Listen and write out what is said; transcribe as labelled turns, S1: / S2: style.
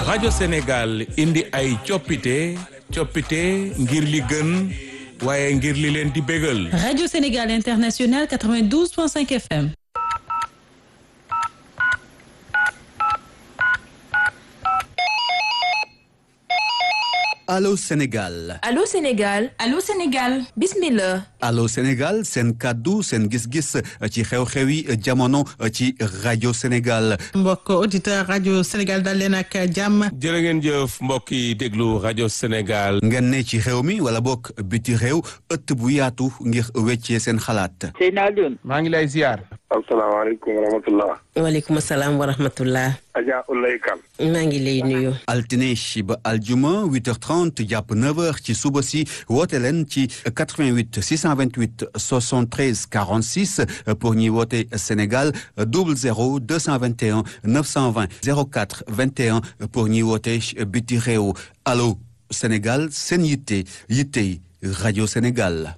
S1: rajo Sénégal indi ay coppite ngir li gën waaye ngir li leen di bégal.
S2: Radio Sénégal International 92.5 FM.
S3: Allô Sénégal.
S4: Allô Sénégal.
S5: Allô Sénégal.
S4: Bismillah.
S3: Allô Sénégal seen kàddu seen gis-gis ci xew-xewi jamono ci rajo Sénégal.
S6: mbokk auditeur rajo Sénégal dal leen ak jàmm.
S1: jërë ngeen jëf mbokk yi déglu rajo Sénégal.
S3: ngeen ne ci réew mi wala bokk biti réew ëtt bu yaatu ngir weccee seen xalaat.
S7: Seyna Alioune.
S8: maa ngi lay ziar.
S7: asalaamaaleykum wa rahmatullah.
S9: waaleykum salaam wa rahmatullah.
S7: Adja Oulaye Kane.
S9: maa ngi lay nuyu.
S3: altine ba aljuma 8h30 jàpp 9h ci suba si woote leen ci 88 628 73 46 pour ñi woote Sénégal 00 221 920 04 21 pour ñi woote biti réew allo Sénégal seen yitte rajo Sénégal.